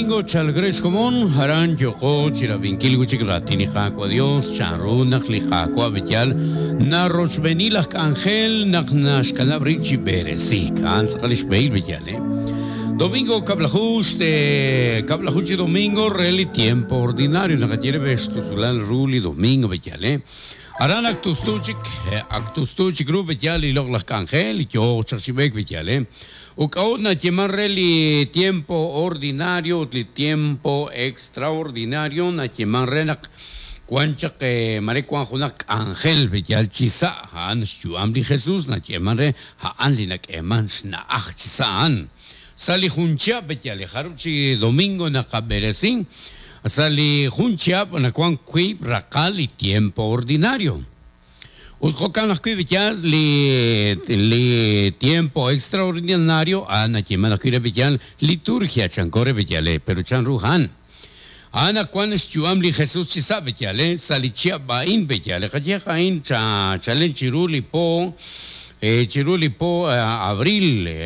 domingo chalk re xkomon, aran yooqo chi rab'inkil wi' chik raatin li Qaawa' Dios, chanru naq li Qaawa' b'eyal narochb'eeni laj k'anjel naq naxkanab' rib' chi b'eresiik. A'an tz'aqal li xb'ehil b'eyal, eh. Domingo kab'laju xte kab'laju chi domingo re li tiempo ordinario naqaye re xtusulal ru li domingo b'eyal, eh. Aran ak tustu chik, ak tustu chik ru b'eyal li loq'laj k'anjel, yooq chaq chi b'eek b'eyal, eh. Ut k'a'ut nayeeman re li tiempo ordinario ut li tiempo extraordinario? Nayeeman re naq wan chaq mare wan junaq k'anjel b'eyal chi sa' a'an xyu'am li Jesus, nayeeman re a'an li nak'eeman xna'aj chi sa' a'an. Sa' li jun chihab' b'eyal li jarub' chi domingo naqab'eresi, sa' li jun chihab' nawan wiib' raqal li tiempo ordinario. Ut jo'kan ajwi' b'iyal li li tiempo extraordinario a'an nayeeman ajwi' re b'iyal liturgia chanko re b'iyal e, pero chan ru a'an? A'an naq wan xyu'am li Jesus chi sa' b'iyal e, sa' li chihab' a'in b'iyal e, qayehaq a'in chalen chiru li po chiru li po abril e,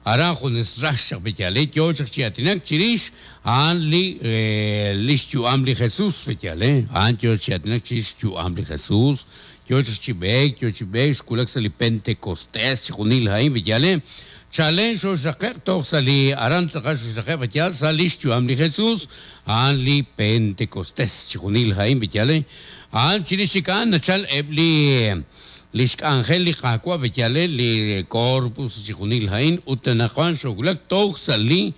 Aran junes rax chaq b'eyal, yoo chaq chi aatinak chirix a'an li lix yu'am li Jesus b'eyal, a'an yoo chi aatinak chirix xyu'am li Jesus, yoo chaq chi b'eek, yoo chi b'eek, xwulak sa' li Pentecostés, chixjunil a'in b'eyal, chalen xoxraqe'q toj sa' li aran tz'aqal xoxraqe'q b'eyal sa' lix yu'am li Jesus, a'an li Pentecostés, chixjunil a'in b'eyal, a'an chirix chik a'an nachal eb' li Lix k'anjel li Qaawa' b'eyale li Corpus chixjunil a'in ut anaqwan xoowulak toj sa' li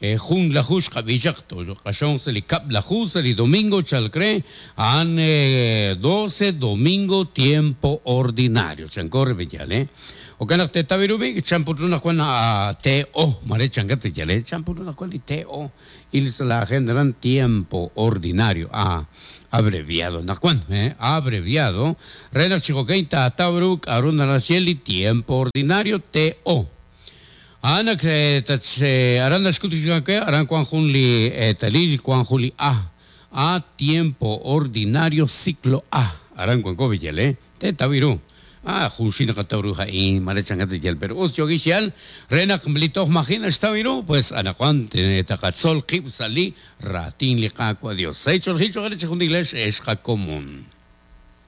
junlaju xqab'i chaq, tooq'axonq sa' li kab'laju sa' li domingo chalk re, a'an doce domingo tiempo ordinario chanko re b'eyale. Jo'kan naq teetaw ru b'i' chan put ru naq wan TO mare chankat b'eyale, chan put ru naq wan li TO. Il sa' la agenda aran tiempo ordinario, a abreviado naq wan, abreviado, re naq chi jo'kan taataw ru k'a'ru naraj xye li tiempo ordinario, TO. A'an ak tat aran naxk'ut chi we aran wan jun li eetalil, wan jun li a, a tiempo ordinario ciclo A, aran wanko b'iyal, Teetaw ru. Ah, junxil naqataw ru a'in, mare chankat li yal, pero us yookin xyal re naq li toj maji' naxtaw ru, pues anaqwan taqatzol qib' sa' li raatin li Qaawa' Dios. Sa' ch'oolejil cho'q eere chejunilex ex qakomon.